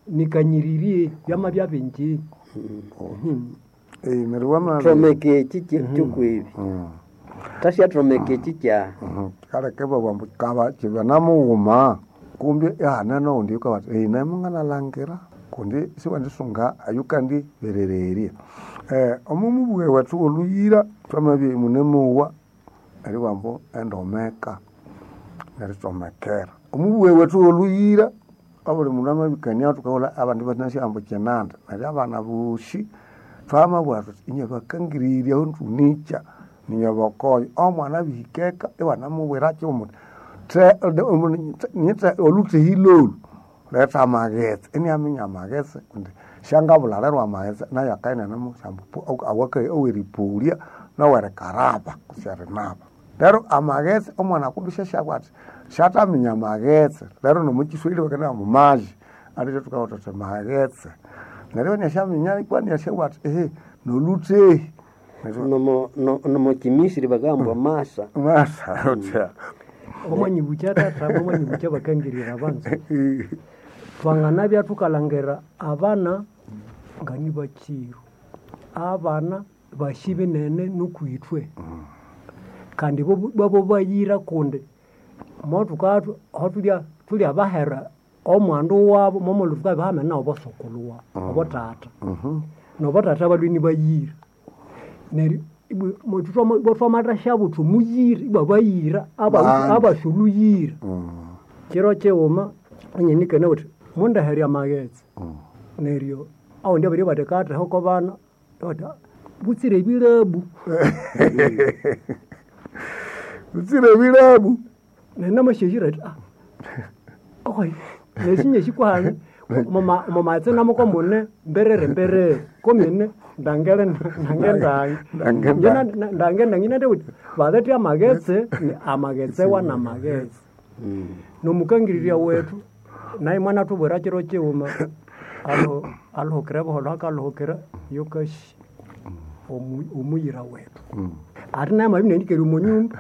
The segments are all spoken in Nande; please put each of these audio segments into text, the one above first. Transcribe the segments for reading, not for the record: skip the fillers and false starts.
Nikanyiririe byamabya bingi. Neryo wama Thomeka eki kyokwebi. Thasyathomeka eki kyaha. Kaleke babugha ambu kaba kibanamughuma kumbi ihane noghundi oyukabugha athi name nganalangira kundi siwendisunga ayukandiberererya. Omo mubughe wethu wolhuyira thwamabya imunemowa eribugha ambu endomeka neritsomekera. Omubughe wethu wolhuyira obuli mundu amabikania thukahulha abandi ibanasi ambu kyinanda neryo abana bosi thwamabugha thuthi inywe bakangirirye ahu thunikya ninywe bokoyo. Omwana abihika eka iwanamubwira kyighuma wuthi olhuthehi lholhu letha amaghetse inaminya amaghetse kundi syangabulha lero amaghetse nayo akabya inianemubuthya ambu aweripoliya nowerikaraba kutse erinaba. Neryo amaghetse omwana kumbi syasyabugha athi syathaminya amaghetse lero nomukiswahili bakanabugha ambu maji aliwe thukabugha thuthi maghetse. Neryo iniasyaminya ikwa iniasyabugha athi ehe nolhuthehi. Neryo Nomo kimisiri bakahamba masa. Masa uthya. Wamanyibukya tata, wamanyibukya bakangirira abanza. Twanganabya thukalhangira abana nga nibakiru. Abana basi binene nuku ithwe. Kandi bo bayira kundi mothukathu aho thulya bahera omwandu wabo momulhu thukabya hamena nobosokulhu wabu, obothatha. Nobothatha balhwe inibayira. Neryo ibwa thwamathasyabuthwa omuyira ibwabayira abasi olhuyira. Kiro kighuma inyanikania wuthi mundehere amaghetse. Neryo awundi abiribugha athi katheho okobana athi butsire ebilabu. Butsire ebilabu. Neryo namasyaghira athi nesinyasi kwahano omomaghetse namukomune mberere mberere komine ndangere ndange ndange. Ndange ndange inathabugha wuthi balethe amaghetse amaghetse wanamaghetse. Nomukangirirya wethu nayo mwanathubwira kiro kighuma alhukire buholho akalhukira yokasi omuyira wethu. Athi nayo amabya inianikere omwanyumba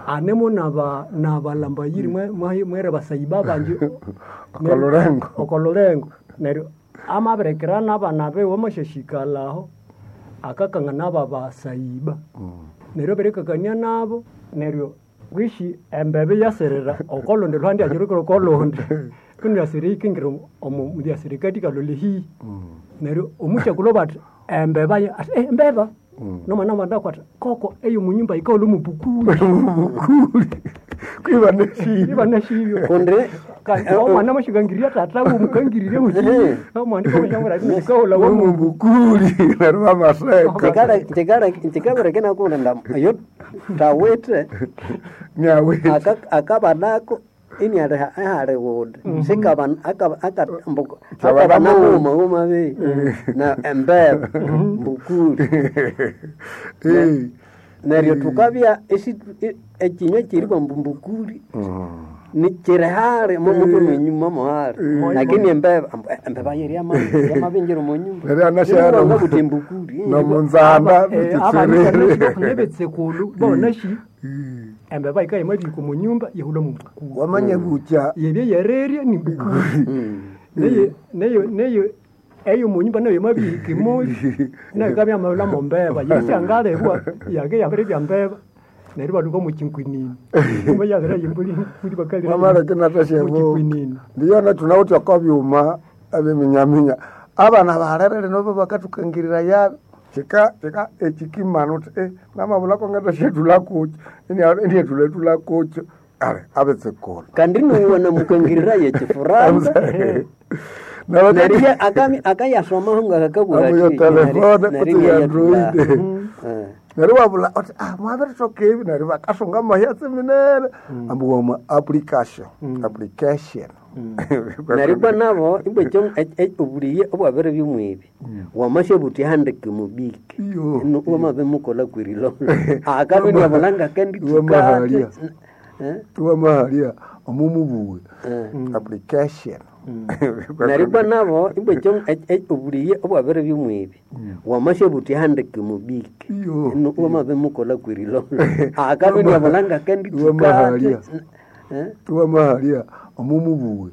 anemo nabalhambayiri mwere basayiba bangi Okolhulengo. Okolhulengo. Neryo amabirikira nabana biwe amasyasikalha aho akakangana nababasayiba. Neryo abirikakania nabo neryo bwishi embebe yasirira okolhundi lhuhande iyakyirukira okolhundi kunu yasirira yikingira yasira ekathi kalholha ehihi. Neryo omukyakulhu abugha athi embeba athi embeba nomwana amabya athi koko eyomunyumba yikahulha omubukuli. Omubukuli kwibanasibyo. Ibanasibyo. Kundi Kandi omwana amasyakangirirya thatha wiwe mukangirirye omwana amashyamubwira athi yikahulha Omubukuli neryo bamaseka. Kyikabereka inakughunda oyo thawithe Nyawithe. akabanako iniali ihali wundi sikabana mughuma ghuma beyi na embera mbukuli. Neryo thukabya ekinywa kyeribugha ambu mbukuli kiri hali momuthwe mwenyuma mohali lakini embeba ambu embeba yiri yamabingira omwanyumba Neryo anasyaghana wangabuthi embukuli. Nomunzanda mukyitserere. Nebetsekulhu bonasi embeba yikabya yamabihika omwanyumba yahulha omubukuli. Wamanya bukya. Yebye yererya nimbukuli. Neyo neyo eyomunyumba nayo yamabihika emoyi nayo yikabya yamahulha mombeba yisyangalebwa yake yabiribya mbeba neryo ibalhuka omwakyinkwinini. Yabiribya embuli bakalira Wamaleka inathasyabuka. omwakyinkwinini. Ndiyo thunawithe okobyuma ebyeminyaminya. Abana balere lino bo bakathukangiriraya kika kika ekyikimana wuthi namabulhako ngathasyethulha kukyi iniathulhathulha kukyo ale abetsekulhu. Kandi nuwe namukangiriraye ekifuranza. Neryo akayasomaho ngakakabugha Amu yo athi telefone neryo kutse ya iniayathulha. Android. Neryo iwabulha wuthi mwabiritoka ebi neryo bakasunga amahyatsi minene ambu wama application application. Neryo ibwa nabo ibwa obuliye obwabiribya omwibi wamasyabuthi ihandike mubiki Iyo. wamabimukolha kwirilolo akabya iniabulha ngakandithukati. Wamahalya. Wamahalya omumubughe application. Neryo ibwa nabo ibwa obuliye obwabiribya omwibi wamasyabuthi ihandike mubiki Iyo. wamabimukolha kwirilolo akabya iniabulha ngakandithukati. Wamahalya. Wamahalya omumubughe.